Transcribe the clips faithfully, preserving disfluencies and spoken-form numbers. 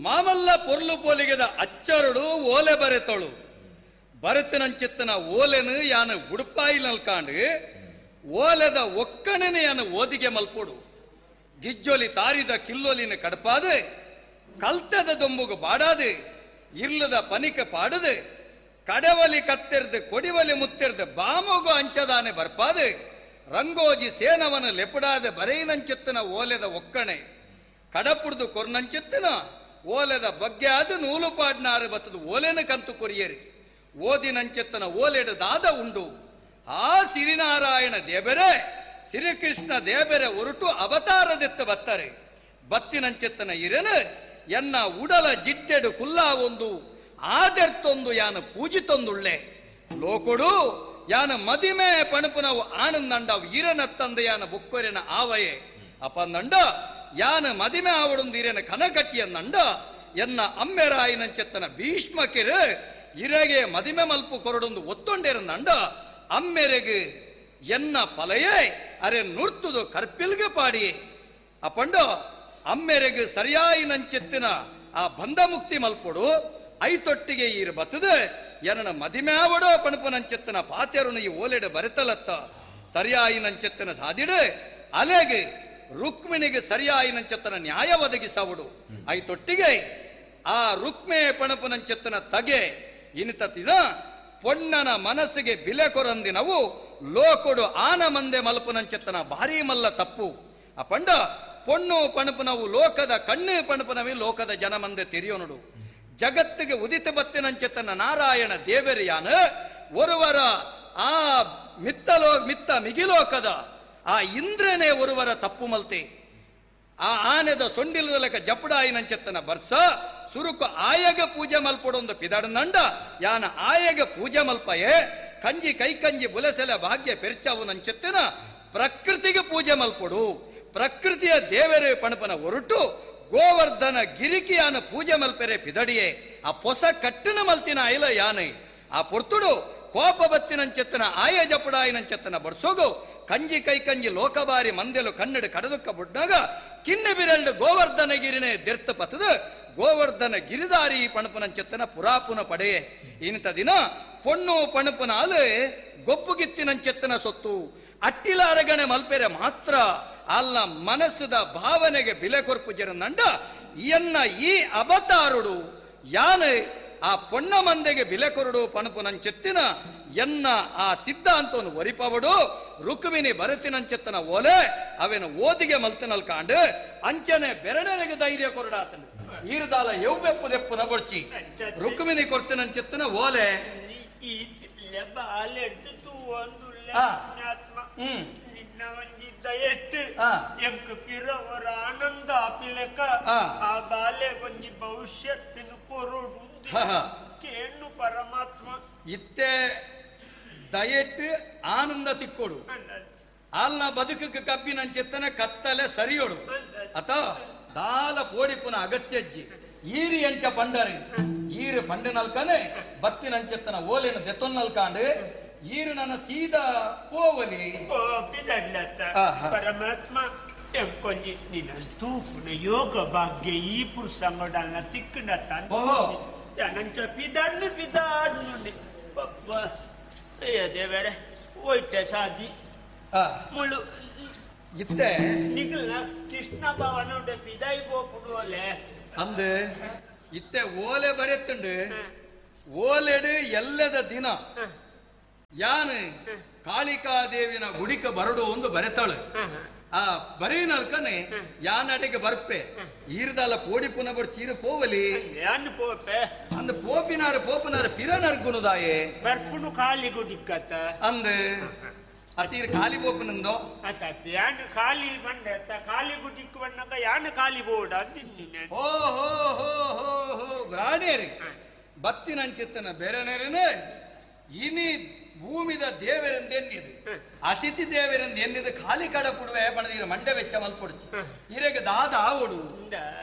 ಮಾಮಲ್ಲ ಪೊರ್ಲು ಪೋಲಿಗೆದ ಅಚ್ಚರುಡು ಓಲೆ ಬರೆತಳು ಬರೆತನಂಚಿತ್ತನ ಓಲೆನು ಯಾನ ಉಡುಪಾಯಿ ನಲ್ಕಾಂಡು ಓಲೆದ ಒಕ್ಕಣನೆ ಯಾನ ಓದಿಗೆ ಮಲ್ಪೊಡು ಗಿಜ್ಜೊಲಿ ತಾರಿದ ಕಿಲ್ಲೊಲಿನ ಕಡಪಾದೆ ಕಲ್ತದ ದೊಂಬುಗು ಬಾಡಾದೆ ಇರ್ಲದ ಪನಿಕ ಪಾಡದೆ ಕಡವಲಿ ಕತ್ತೆರ್ದು ಕೊಡಿವಲಿ ಮುತ್ತೆರ್ದು ಬಾಮುಗು ಅಂಚದಾನೆ ಬರ್ಪಾದೆ ರಂಗೋಜಿ ಸೇನವನು ಲೆಪಡಾದ ಬರೆಯಿನಂಚಿತ್ತನ ಓಲೆದ ಒಕ್ಕಣೆ ಕಡಪುಡ್ದು ಕೊರ್ನಂಚಿತ್ತನ ಓಲೆದ ಬಗ್ಗೆ ಆದ ನೂಲು ಪಾಡ್ನಾರು ಬತ್ತದು ಓಲೆನ ಕಂತು ಕೊರಿಯರಿ ಓದಿನಂಚಿತ್ತನ ಓಲೆಡು ದಾದ ಉಂಡು ಆ ಸಿರಿನಾರಾಯಣ ದೇಬೆರೆ ಶ್ರೀಕೃಷ್ಣ ದೇಬೆರೆ ಒರಟು ಅವತಾರದೆತ್ತ ಬತ್ತಾರೆ ಬತ್ತಿನಂಚಿತ್ತನ ಇರನು ಎನ್ನ ಉಡಲ ಜಿಟ್ಟೆಡು ಕುಲ್ಲಾ ಒಂದು ಆದೆರ್ತೊಂದು ಯಾನ ಪೂಜಿತೊಂದುಳ್ಳೆ ಲೋಕೊಡು ಯಾನ ಮದಿಮೆ ಪಣಪುನವು ಆನಂದಂಡವು ಈರನತ್ತಂದ ಯಾನ ಬುಕ್ಕೊರೆನ ಆವಯೆ ಅಪಂದಂಡ ಯಾನ ಮದಿಮೆ ಆವಡೊಂದು ಈರನ ಕನಕಟ್ಟಿಯನ್ನಂಡ ಎನ್ನ ಅಮ್ಮೆರಾಯಿನಂచెತ್ತನ ಭೀಷ್ಮಕಿರು ಇರಗೆ ಮದಿಮೆ ಮಲ್ಪು ಕೊರಡೊಂದು ಒತ್ತೊಂಡೇರನಂಡ ಅಮ್ಮೆರೆಗೆ ಎನ್ನ ಪಲಯೇ ಅರೆ ನುರ್ತುದು ಕರ್ಪಿಲ್ಗೆ ಪಾಡಿಯೇ ಅಪಂಡ ಅಮ್ಮೆರೆಗೆ ಸರಿಯಾಯಿನಂచెತ್ತಿನ ಆ ಬಂಧ ಮುಕ್ತಿ ಮಲ್ಪೊಡು ಐತೊಟ್ಟಿಗೆ ಈರು ಬತ್ತದೆ ಎನ್ನ ಮದಿಮೆ ಆವಡೋ ಪಣಪುನಂచెತ್ತನ ಪಾತೆರುನು ಈ ಓಲೆಡು ಬರೆತಲತ್ತ ಸರಿಯಾಯಿನಂచెತ್ತನ ಸಾದಿಡು ಅಲೆಗೆ ರುಕ್ಮಿಣಿಗೆ ಸರಿಯಾಯಿನಂచెತ್ತನ ನ್ಯಾಯ ಒದಗಿಸವಡು ಐತೊಟ್ಟಿಗೆ ಆ ರುಕ್ಮೆ ಪಣಪುನಂచెತ್ತನ ತಗೆ ಇನಿತತಿನ ಪೊಣ್ಣನ ಮನಸ್ಸಿಗೆ ಬಿಲೆ ಕೊರಂದಿನವು ಲೋಕೊಡು ಆನ ಮಂದೆ ಮಲ್ಪುನಂచెತ್ತನ ಭಾರೀ ಮಲ್ಲ ತಪ್ಪು ಆ ಪಂಡ ಪೊಣ್ಣು ಪಣಪುನವು ಲೋಕದ ಕಣ್ಣು ಪಣಪುನವಿ ಲೋಕದ ಜನ ಮಂದೆ ತೆರಿಯೋನುಡು ಜಗತ್ತಿಗೆ ಉದಿತ ಬತ್ತಿನಂచెತ್ತನ ನಾರಾಯಣ ದೇವರಿಯಾನ ಒರುವರ ಆ ಮಿತ್ತಲೋ ಮಿತ್ತ ಮಿಗಿಲೋಕದ ಆ ಇಂದ್ರನೇ ಒರುವರ ತಪ್ಪು ಮಲ್ತೆ ಆ ಆನೆದ ಸೊಂಡಿಲದಲಕ ಜಪುಡಾಯಿನಂచెತ್ತನ ಬರ್ಸ ಸುರುಕು ಆಯಗ ಪೂಜೆ ಮಲ್ಪೊಡೊಂದು ಪಿದಡನಂಡ ಯಾನ ಆಯಗ ಪೂಜೆ ಮಲ್ಪಯೇ ಕಂಜಿ ಕೈಕಂಜಿ ಬುಲಸೆಲ ಭಾಗ್ಯ ಪೆರ್ಚವು ನಂచెತ್ತಿನ ಪ್ರಕೃತಿಗೆ ಪೂಜೆ ಮಲ್ಪೊಡು ಪ್ರಕೃತಿಯ ದೇವರೇ ಪಣಪನ ಒರಟು ಗೋವರ್ಧನ ಗಿರಿಕಿಯಾನ ಪೂಜೆ ಮಲ್ಪೆರೆ ಪಿದಡಿಯೇ ಆ ಪೊಸ ಕಟ್ಟಿನ ಮಲ್ತಿನ ಐಲ ಯಾನೆ ಆ ಪೊರ್ತುಡು ಕೋಪ ಬತ್ತಿನಂచెತ್ತನ ಆಯ ಜಪುಡಾಯಿನಂచెತ್ತನ ಬರ್ಸೋಗು ಕಂಜಿ ಕೈ ಕಂಜಿ ಲೋಕಬಾರಿ ಮಂದೆಲು ಕನ್ನಡ ಕಡದುಕ್ಕ ಬುಡ್ನಾಗ ಕಿನ್ನೆ ಬಿರಲ್ಡು ಗೋವರ್ಧನ ಗಿರಿನೇ ದೆರ್ತ ಪತದ ಗೋವರ್ಧನ ಗಿರಿದಾರಿ ಪಣಪುನಂచెತ್ತನ ಪುರಾಪುನ ಪಡೆಯೇ ಇಂಥ ದಿನ ಪೊಣ್ಣು ಪಣಪುನಾಲು ಗೊಬ್ಬುಗಿತ್ತಿನಂచెತ್ತನ ಸೊತ್ತು ಅಟ್ಟಿಲಾರಗಣೆ ಮಲ್ಪೆರೆ ಮಾತ್ರ ಅಲ್ಲ ಮನಸ್ಸದ ಭಾವನೆಗೆ ಬಿಲೆ ಕೊರ್ಪು ಜರನಂಡ ಎನ್ನ ಈ ಅವತಾರುಡು ಯಾನೆ ಆ ಪೊಣ್ಣ ಮಂದೆಗೆ ಬಿಲೆ ಕೊರಡು ಪಣಪುನಂచెತ್ತಿನ ಎನ್ನ ಆ ಸಿದ್ಧಾಂತವನ್ನು ಒರಿಪವಡು ರುಕ್ಮಿಣಿ ಬರತಿನಂచెತ್ತನ ಓಲೆ ಅವೇನು ಓದಿಗೆ ಮಲ್ತಿನಲ್ ಕಾಂಡು ಅಂಚನೆ ಬೆರಣೆಗೆ ಧೈರ್ಯ ಕೊರಡಾತನು ಈರುದಾಲ ಎವ್ವೆಪ್ಪು ದೆಪ್ಪುನ ಬೊಡ್ಚಿ ರುಕ್ಮಿಣಿ ಕೊರ್ತಿನಂచెತ್ತನ ಓಲೆ ಆನಂದ ಆಪಿಲೆಕ ಆ ಬಾಲೆ ಒಂಜಿ ಭವಿಷ್ಯತ್ತಿನ ಕೊರಡು ಕೇಳು ಪರಮಾತ್ಮ ಇತ್ತೆ ದಯೆಟ್ಟು ಆನಂದ ತಿಕ್ಕೊಡು ಆಲ್ನ ಬದುಕಕ್ಕೆ ಕಬ್ಬಿನಂచెತ್ತನ ಕತ್ತಲೆ ಸರಿಯೋಡು ಅಥವಾ ದಾಲ ಪೋಡಿಪುನ ಅಗತ್ಯಜ್ಜಿ ಈರಿ ಅಂಚ ಪಂಡರಿ ಈರು ಪಂಡನಲ್ಕನೆ ಬತ್ತಿನಂచెತ್ತನ ಓಲೆನ ದೆತ್ತೊನ್ನಲ್ಕಾಂಡು ಈರು ನನ್ನ ಸೀದಾ ಪೋವಲಿ ಪರಮಾತ್ಮ ಎಂಕೊಂಜಿ ನಿನ್ನ ತೂಪುನ ಯೋಗ ಭಾಗ್ಯ ಈ ಪುರುಷಂಗಡನ್ನ ತಿಕ್ಕಂಡ ನಂಚ ಪಿದಣ್ಣು ಪಿದಾಡ್ನು ಪಪ್ಪ ದೇವರೇ ಒಯ್ಟೆ ಸಾದಿ ಮುಳು ಇತ್ತೆ ನಿಗಲ್ನ ಕೃಷ್ಣ ಭವನ ಪಿದಾಯಿ ಗೋಪುಡು ಓಲೆ ಅಂದು ಇತ್ತೆ ಓಲೆ ಬರೆತ್ತುಂಡು ಓಲೆಡು ಎಲ್ಲದ ದಿನ ಯಾನು ಕಾಳಿಕಾದೇವಿನ ಗುಡಿಕ ಬರಡು ಒಂದು ಬರೆತಾಳು ಆ ಬರೀನಲ್ಕನೆ ಯಾನಡೆಗೆ ಬರ್ಪೆ ಈರ್ದಾಲ ಪೋಡಿ ಪುನ ಬರ್ ಚೀರ ಪೋವಲಿ ಯಾನ್ ಪೋಪೆ ಅಂದ ಪೋಪಿನಾರ ಪೋಪನಾರ ಪಿರನರ್ಗುಣದಾಯೆ ಬರ್ಪುನು ಕಾಲಿ ಗುಡಿಕತ್ತ ಅಂದ ಅತೀರ್ ಖಾಲಿ ಪೋಪನಂದೋ ಯಾನ್ ಖಾಲಿ ಬಂಡೆ ಖಾಲಿ ಗುಡಿಕ್ ಬಂದಾಗ ಯಾನ್ ಖಾಲಿ ಬೋಡ ಅಂದಿದ್ದೀನಿ ಹೋ ಹೋ ಹೋ ಹೋ ಹೋ ಗ್ರಾಣೇರಿ ಬತ್ತಿನಂಚಿತ್ತನ ಬೇರೆ ನೇರನೆ ಇನಿ ಭೂಮಿದ ದೇವರೆಂದು ಎನ್ನಿದು ಅತಿಥಿ ದೇವರೆಂದು ಎನ್ನಿದು ಖಾಲಿ ಕಡ ಪುಡುವೆ ಬಣದಿರ ಮಂಡೆ ವೆಚ್ಚ ಮಲ್ಪೊಡ್ಚಿ ಇರೆಗೆ ದಾದ ಆವಡು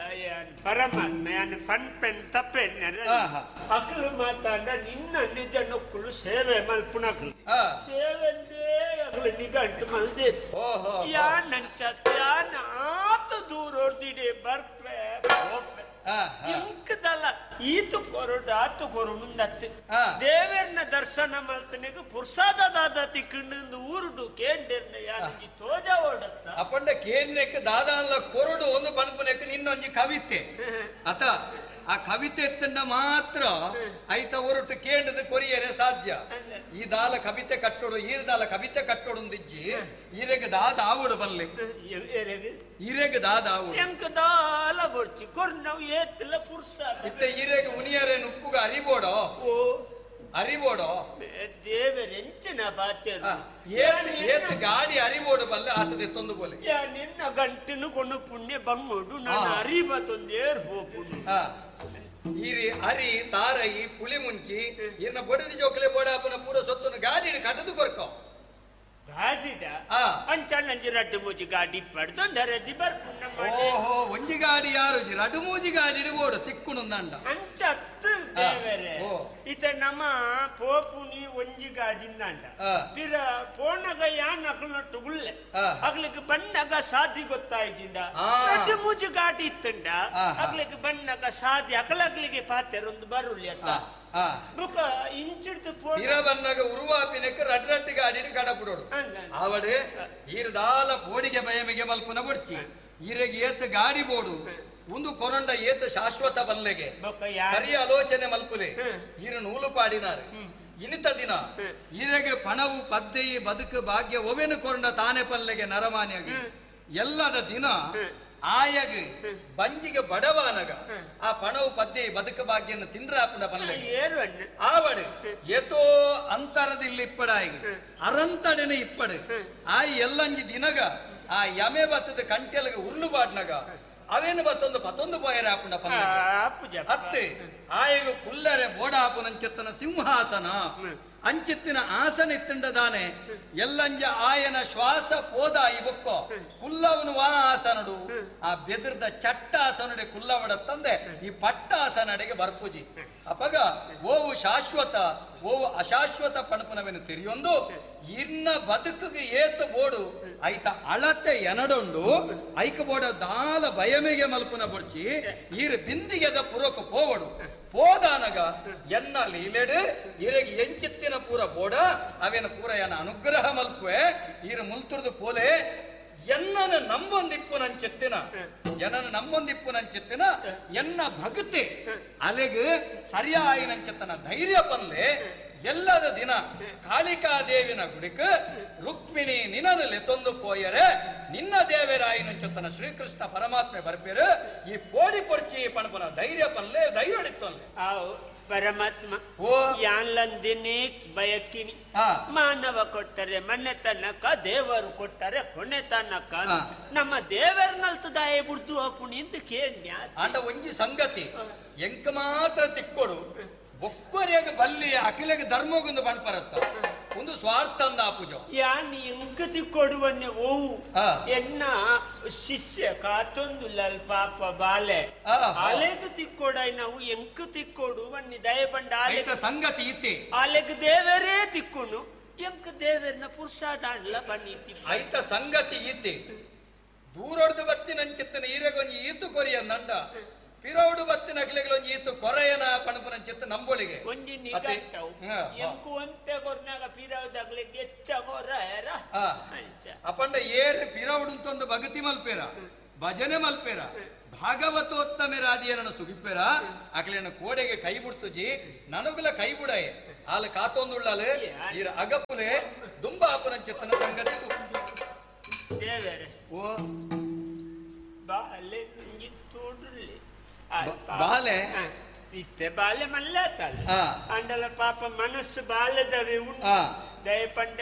ಪರಮಾತ್ಮ ಯಾನ್ ಪನ್ಪೆನ್ ತಪ್ಪೆನ್ ಅಕಲು ಮಾತಾಂಡ ನಿನ್ನ ನಿಜ ನೊಕ್ಕುಲು ಸೇವೆ ಮಲ್ಪುನಕಲು ಸೇವೆಂದೇ ಅಕಲು ನಿಗಂಟು ಮಲ್ದೆ ಯಾನ್ ನಂಚ ಯಾನ್ ಆತ ದೂರ ಹೊರ್ದಿಡೆ ಬರ್ಪೆ ಈತು ಕೊರಡು ಆತು ಕೊರಡು ದೇವರ್ನ ದರ್ಶನ ಮಲ್ತನಿಗೆ ಪುರ್ಸಾದ ದಾದ ತಿಕ್ಕಂಡು ಊರುಡು ಕೇಂಡಿರ್ನ ಯಾನಿ ತೋಜ ಓಡತ್ತ ಅಪಂಡ ಕೇನ್ನೆಕ್ ದಾದಾನ್ಲ ಕೊರಡು ಒಂದು ಪನ್ಪುನೆಕ್ ನಿನ್ನೊಂಜಿ ಕವಿತೆ ಅತ ಆ ಕವಿತೆ ಎತ್ತಂಡ ಮಾತ್ರ ಐತ ಒರಟು ಕೇಂಡದ ಕೊರಿಯರೆ ಸಾಧ್ಯ. ಈ ದಾಲ ಕವಿತೆ ಕಟ್ಟೋಡು ಈರ ದಾಲ ಕವಿತೆ ಕಟ್ಟೋಡು ಇಜ್ಜಿ ಈರೆಗ್ ದಾದ ಆವಡು ಬಲ್ಲೆ ಈರೆಗ್ ದಾದ ಆವಡು ಎಂಕ ದಾಲ ಬೊರ್ಚಿ ಕೊರ್ನವು ಏತ್ತಲ ಪುರ್ಸಾದ ಇತ್ತೆ ಈರೆಗ್ ಉನಿಯರೆ ನುಪ್ಪುಗ ಅರಿಬೋಡೋ ಓ ಅರಿಬೋಡೋ ದೇವರೆಂಚಿನ ಬಾತ್ಯರು ಏತ್ ಏತ್ ಗಾಡಿ ಅರಿಬೋಡು ಬಲ್ಲೆ ಆತದೆ ತೊಂದು ಬೋಲೆ ನಿನ್ನ ಗಂಟನು ಕೊಂಡು ಪುಣ್ಯ ಬಂಗೋಡು ನಾನು ಅರಿಬ ತೊಂದೇರ್ ಹೋಪುಡು. ಈರಿ ಅರಿ ತಾರಯಿ ಪುಳಿ ಮುಂಚಿ ಇರ್ನ ಬೊಡದಿ ಜೋಕಲೆ ಬೋಡಾಪನ ಪೂರ ಸೊತ್ತನ್ನು ಗಾಡಿ ಕಟ್ಟದು ಕೊರ್ಕೋ ಗಾಡಿದ ಅಂಚ ರಡ್ಡು ಮೂಜಿ ಗಾಡಿ ಪಡ್ದೊಂದರದಿ ಬರ್ಪುನ. ಓಹೋ ಒಂಜಿ ಗಾಡಿ ಯಾರು ರಡ್ಡು ಮೂಜಿ ಗಾಡಿ ಓಡು ತಿಕ್ಕುಣಂದಂಡ ಅಂಚತ್ತು ದೇವರೇ ಇತ ನಮ್ಮ ಪೋಪುನಿ ಒಂಜಿ ಗಾಡಿಂದಂಡ ಪಿರ ಪೋನಗ ಯಾನ್ ಅಕ್ಲನೊಟ್ಟು ಗುಳ್ಳೆ ಅಗ್ಲಿಕ್ಕೆ ಬಣ್ಣಗ ಸಾದಿ ಗೊತ್ತಾಯ್ತಿಂದ ರಡ್ಡು ಮೂಜಿ ಗಾಡಿ ಇತ್ತಂಡ ಅಗ್ಲಿಕ್ಕೆ ಬಣ್ಣಗ ಸಾದಿ ಅಕಲಗ್ಲಿಗೆ ಪಾತೆರೊಂದು ಬರುಲಿ ಅಂತ ಬುಕ ಇಂಚಿಡ್ದು ಪಿರ ಬನ್ನಗ ಉರುವಾಪಿನಕ್ಕೆ ರಡ್ ರಡ್ಡು ಗಾಡಿ ಕಡಪುಡೋಡು ಆವಡೆ ಈರ್ದಾಲ ಬೋಡಿಗೆ ಬಯಮಿಗೆ ಮಲ್ಪುನ ಬೊಡ್ಚಿ ಈರೆಗೆ ಏತ್ ಗಾಡಿ ಬೋಡು ಒಂದು ಕೊರಂಡ ಏತ್ ಶಾಶ್ವತ ಬಲ್ಲೆಗೆ ಸರಿ ಆಲೋಚನೆ ಮಲ್ಪುಲೆ ಈರು ನೂಲು ಪಾಡಿನಾರು ಇನಿತ ದಿನ ಈರೆಗೆ ಪಣವು ಪದ್ದೆಯಿ ಬದುಕು ಭಾಗ್ಯ ಒವೆನು ಕೊರಂಡ ತಾನೆ ಪಲ್ಲೆಗೆ ನರಮಾನ್ಯಾಗಿ ಎಲ್ಲದ ದಿನ ಆಯಗ್ ಬಂಜಿಗೆ ಬಡವಾನಗ ಆ ಪಣವು ಪದ್ದೆ ಬದುಕು ಭಾಗ್ಯನ ತಿಂಡ್ರಾಪುಂಡ ಪಲ್ಲೆಗೆ ಆವಡು ಏತೋ ಅಂತರದಿಲ್ಲಿ ಇಪ್ಪಡಾಯಿಗೆ ಅರಂತಡೆನೆ ಇಪ್ಪಡು ಆ ಎಲ್ಲಂಜಿ ದಿನಗ ಆ ಯಮೆ ಬತ್ತದ ಕಂಟೆಲಗೆ ಉರ್ಲು ಬಾಡ್ನಗ ಅವೇನು ಬತ್ತೊಂದು ಪತ್ತೊಂದು ಪೋಯರೆ ಆಪುಂಡ ಪಲ್ಲೆಗೆ ಅತ್ತೆ ಆಯಗ ಕುಲ್ಲರೆ ಬೋಡಾಪುನಂచెತ್ತನ ಸಿಂಹಾಸನ ಅಂಚಿತ್ತಿನ ಆಸನ ಇತ್ತಂಡದಾನೆ ಎಲ್ಲಂಜ ಆಯನ ಶ್ವಾಸ ಪೋದ ಈ ಬೊಕ್ಕೋ ಕುಲ್ಲವನು ವಾ ಆಸನಡು ಆ ಬೆದರ್ದ ಚಟ್ಟ ಆಸನಡೆ ಕುಲ್ಲವಡ ತಂದೆ ಈ ಪಟ್ಟ ಆಸನಡೆಗೆ ಬರ್ಪೂಜಿ ಅಪಗ ಓವು ಶಾಶ್ವತ ಓವು ಅಶಾಶ್ವತ ಪಣಪುನವೆನು ತೆರಿಯೊಂದು ಇನ್ನ ಬದುಕಿಗೆ ಏತ ಬೋಡು ಐತ ಅಳತೆ ಎನಡೊಂಡು ಐಕ ಬೋಡ ದಾಲ ಬಯಮೆಗೆ ಮಲ್ಪುನ ಬೊಡ್ಚಿ ಈರು ಬಿಂದಿಗೆದ ಪುರಕ ಪೋವಡು ಪೋದಾನಗ ಎನ್ನ ಲೀಲೆಡು ಇರೆಗೆ ಎಂಚಿತ್ತಿನ ಪೂರ ಬೋಡ ಅವೇನ ಪೂರ ಎನ್ನ ಅನುಗ್ರಹ ಮಲ್ಪುವೆ ಈರು ಮುಲ್ತುರ್ದು ಪೋಲೆ ಎನ್ನನ ನಂಬೊಂದಿಪ್ಪು ನಂచెತ್ತಿನ ಎನ್ನನ ನಂಬೊಂದಿಪ್ಪು ನಂచెತ್ತಿನ ಎನ್ನ ಭಕ್ತಿ ಅಲೆಗ್ ಸರಿಯಾಯಿ ನಂచెತ್ತನ ಧೈರ್ಯ ಪನ್ಲೆ ಎಲ್ಲದ ದಿನ ಕಾಳಿಕಾದೇವಿನ ಗುಡಿಕ್ ರುಕ್ಮಿಣಿ ನಿನನಲ್ಲಿ ತೊಂದು ಪೋಯರೆ ನಿನ್ನ ದೇವರಾಯಿ ನಂಚೊತ್ತನ ಶ್ರೀಕೃಷ್ಣ ಪರಮಾತ್ಮೆ ಬರ್ಪೇರು ಈ ಪೋಡಿ ಪೊಡ್ಚಿ ಪಣಪನ ಧೈರ್ಯ ಪನ್ಲೆ ಧೈರ್ಯ ಹಿಡಿತೊಲ್ಲೆ ಪರಮಾತ್ಮ ಯಾನ್ಲಂದಿನೇ ಬಯಕಿನಿ ಮಾನವ ಕೊಟ್ಟರೆ ಮನೆ ತನಕ ದೇವರು ಕೊಟ್ಟರೆ ಕೊನೆ ತನಕ ನಮ್ಮ ದೇವರನಲ್ತದಾಯ ಬುಡ್ದು ಹಾಕುಣಿ ಅಂತ ಕೇಳ್ಯ ಆಂಡ ಒಂಜಿ ಸಂಗತಿ ಎಂಕ ಮಾತ್ರ ತಿಕ್ಕೊಡು ಬೊಕ್ಕರಿಯಾಗ ಬಲ್ಲಿ ಅಖಿಲಗೆ ಧರ್ಮಗೊಂದು ಬಣ್ಪರತ್ತ ಒಂದು ಸ್ವಾರ್ಥ ಅಂದ ಆಪುಜ ಯಾನ್ ಎಂಕ ತಿಕ್ಕೊಡುವನ್ನೆ ಓವು ಎನ್ನ ಶಿಷ್ಯ ಕಾತೊಂದು ಲಲ್ ಪಾಪ ಬಾಲೆ ಅಲೆಗ್ ತಿಕ್ಕೊಡೈ ನಾವು ಎಂಕ ತಿಕ್ಕೊಡುವನ್ನಿ ದಯ ಪಂಡ ಆಲೆಗ ಸಂಗತಿ ಇತ್ತೆ ಅಲೆಗ್ ದೇವರೇ ತಿಕ್ಕೊನು ಎಂಕ ದೇವರನ್ನ ಪುರುಷಾದಾಂಡ್ಲ ಬನ್ನಿ ಐತ ಸಂಗತಿ ಇತ್ತೆ ದೂರೊಡ್ದು ಬತ್ತಿನಂಚಿತ್ತನ ಈರೆಗೊಂಜಿ ಈತು ಕೊರಿಯ ನಂಡ ಪಿರೋಡು ಬತ್ತಿನ ಅಖಿಲಗಳೊಂಜಿ ಈತು ಕೊರೆಯನ ಪಣಪುನಂಚಿತ್ತ ನಂಬೋಳಿಗೆ ಒಂಜಿ ನಿಗಟ್ಟವು ಎಂಕು ಒಂತೆ ಕೊರ್ನಾಗ ಪಿರೌದಾಗ್ಲಿಗೆ ಹೆಚ್ಚ ಕೊರಯರ ಅಪಂಡ ಏರ್ ಪಿರೌಡುಂತೊಂದು ಭಗತಿ ಮಲ್ಪೇರ ಭಜನೆ ಮಲ್ಪೇರ ಭಾಗವತೋತ್ತಮರಾದಿಯನನ್ನು ಸುಗಿಪ್ಪೇರ ಅಖಿಲನ ಕೋಡೆಗೆ ಕೈ ಬಿಡ್ತುಜಿ ನನಗುಲ ಕೈ ಬುಡಾಯೆ ಆಲ ಕಾತೊಂದುಳ್ಳಾಲೆ ಈರ ಅಗಪುಲೆ ದುಂಬ ಅಪನಂಚಿತ್ತನ ಸಂಗತಿ ದೇವರೇ ಓ ಬಾಲೆ ತೋಡುಳ್ಳಿ ಬಾಲೆ ಇತ್ತೆ ಬಾಲೆ ಮಲ್ಲಾತಲ್ಲ ಅಂಡಲ ಪಾಪ ಮನಸ್ಸು ಬಾಲೆದವೆ ಉಂಟು ದಯಪಂಡ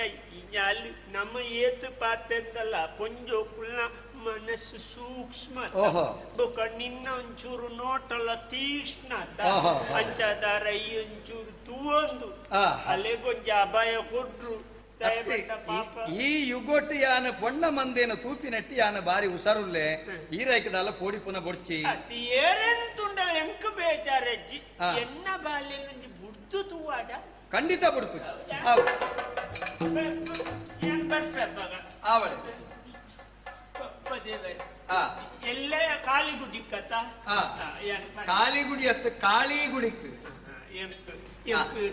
ಅಲ್ಲಿ ನಮ್ಮ ಏತು ಪಾತೆಂದಲ್ಲ ಪೊಂಜೋ ಕುಲ್ನ ಮನಸ್ಸು ಸೂಕ್ಷ್ಮ ಬೊಕ ನಿನ್ನ ಒಂಚೂರು ನೋಟಲ್ಲ ತೀಕ್ಷ್ಣ ಅಂಚದಾರ ಈ ಒಂಚೂರು ತೂವೊಂದು ಅಲ್ಲೆಗೊಂಜಿ ಅಭಯ ಕೊಟ್ರು ಈ ಯುಗೊಟ್ಟು ಯಾನ ಪೊಣ್ಣ ಮಂದೇನ ತೂಪಿನಟ್ಟಿ ಯಾನ ಬಾರಿ ಉಸಾರುಲ್ಲೆ ಈರೈಕದಲ್ಲ ಪೋಡಿ ಪುನ ಬೊಡ್ಚಿ ಏರೇನು ತುಂಡಲ ಎಂಕ ಬೇಜಾರಜ್ಜಿ ಎನ್ನ ಬಾಲ್ಯ ಬುಡ್ದು ತೂವಾಡ ಖಂಡಿತ ಬುಡ್ಪು ಆವಳೆ ಎಲ್ಲ ಕಾಲಿಗುಡಿ ಕಥ ಕಾಲಿಗುಡಿ ಅತ್ತ ಕಾಳಿಗುಡಿಕ್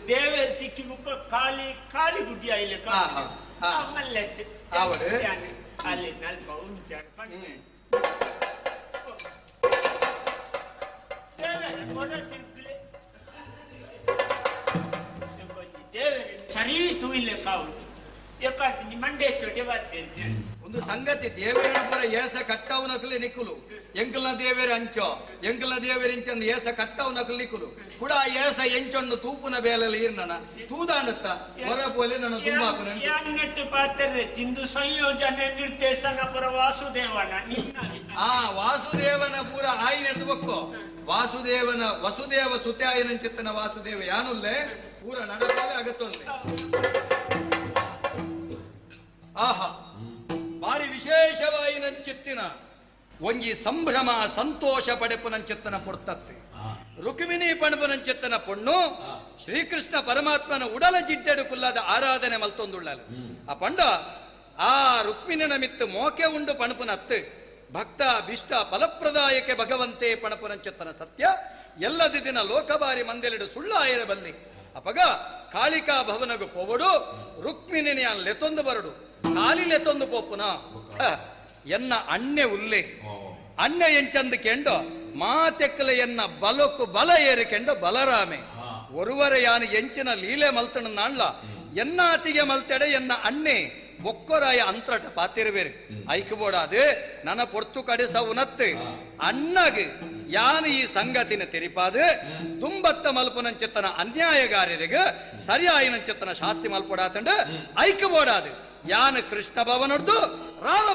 ದೇವೇರ್ ತಿಕ್ಕಿ ಮುಕ್ಕ ಕಾಲಿ ಕಾಲಿಗುಡಿ ಆಯ್ಲೆ ಅಲ್ಲಿ ನಲ್ಪ ಉಂಟು ಸರಿ ತೂಯಿಲೆ ಕಾವು ಮಂಡೆ ಚೊಟೆ ಬರ್ತೇನೆ. ಒಂದು ಸಂಗತಿ ದೇವೇರಪುರ ಏಸ ಕಟ್ಟವು ನಕಲಿ ನಿಕ್ಕುಲು ಎಂಕಲ್ನ ದೇವೇರ ಅಂಚೋ ಎಂಕಲ್ನ ದೇವೇರ ಇಂಚಂದು ಏಸ ಕಟ್ಟವು ನಕಲು ನಿಕ್ಕುಲು ಕೂಡ ಏಸ ಎಂಚೊಂಡು ತೂಪುನ ಬೇಲೆಲ್ಲ ಈರ್ನನ ತೂದಾಂಡತ್ತ ಹೊರಪೋಲೆ ನನ್ನ ತುಂಬಾಪುನ ಅನ್ನಟ್ಟು ಪಾತ್ರೆ ತಿಂದು ಸಂಯೋಜನೆ ನಿರ್ದೇಶನ ಪುರ ವಾಸುದೇವನ ಆ ವಾಸುದೇವನ ಪೂರ ಆಯಿ ನಡೆದು ಬಕ್ಕೋ ವಾಸುದೇವನ ವಸುದೇವ ಸುತೆ ಆಯಿನಂಚಿತ್ತನ ವಾಸುದೇವ ಯಾನುಲ್ಲೆ ಪೂರ ನಡಪಾವೆ ಅಗತ್ತೊಲ್ಲೆ. ಆಹಾ ಬಾರಿ ವಿಶೇಷವಾಯಿನಂಚಿತ್ತಿನ ಒಂಜಿ ಸಂಭ್ರಮ ಸಂತೋಷ ಪಡೆಪುನಂಚಿತ್ತನ ಪೊರ್ತತ್ತೆ ರುಕ್ಮಿಣಿ ಪಣಪುನಂಚಿತ್ತನ ಪೊಣ್ಣು ಶ್ರೀಕೃಷ್ಣ ಪರಮಾತ್ಮನ ಉಡಲ ಜಿಡ್ಡೆಡು ಕುಲ್ಲಾದ ಆರಾಧನೆ ಮಲ್ತೊಂದುಳ್ಳಲು ಆ ಪಂಡ ಆ ರುಕ್ಮಿಣಿನ ಮಿತ್ತು ಮೋಕೆ ಉಂಡು ಪಣಪುನತ್ತು ಭಕ್ತ ಭೀಷ್ಟ ಫಲಪ್ರದಾಯಕ್ಕೆ ಭಗವಂತೆ ಪಣಪುನಂಚಿತ್ತನ ಸತ್ಯ ಎಲ್ಲದ ದಿನ ಲೋಕಬಾರಿ ಮಂದೆಲೆಡು ಸುಳ್ಳ ಆಯರ ಬಲ್ಲಿ ಅಪಗ ಕಾಳಿಕಾ ಭವನಗು ಪೋವಡು ರುಕ್ಮಿಣಿಯ ಲೆತೊಂದು ಬರಡು ಕಾಲಿ ಲೆತೊಂದು ಪೋಪುನ ಎನ್ನ ಅಣ್ಣೆ ಉಲ್ಲೆ ಅಣ್ಣೆ ಎಂಚಂದು ಕೆಂಡೋ ಮಾತೆಕ್ಕಲ ಎನ್ನ ಬಲಕ್ಕು ಬಲ ಏರಿಕೆಂಡೋ ಬಲರಾಮೆ ಒರುವರ ಯಾನು ಎಂಚಿನ ಲೀಲೆ ಮಲ್ತಣ ನಾಣ್ಲ ಎನ್ನಾತಿಗೆ ಮಲ್ತೆಡೆ ಎನ್ನ ಅಣ್ಣೆ ಬೊಕ್ಕೊರಾಯ ಅಂತ್ರಟ ಪಾತಿರುವೇರು ಐಕಬೋಡಾದು ನನ್ನ ಪೊರ್ತು ಕಡೆಸವುನತ್ತು ಅಣ್ಣಗೆ ಯಾನು ಈ ಸಂಗತಿನ ತೆರಿಪಾದು ದುಂಬತ್ತ ಮಲ್ಪುನಂಚಿತ್ತನ ಅನ್ಯಾಯಗಾರರಿಗೆ ಸರಿಯಾಯಿನಂಚಿತ್ತನ ಶಾಸ್ತಿ ಮಲ್ಪೊಡಾತಂಡು ಐಕಬೋಡಾದು ಯಾನು ಕೃಷ್ಣ ಭವನೊಡ್ದು ರಾಮ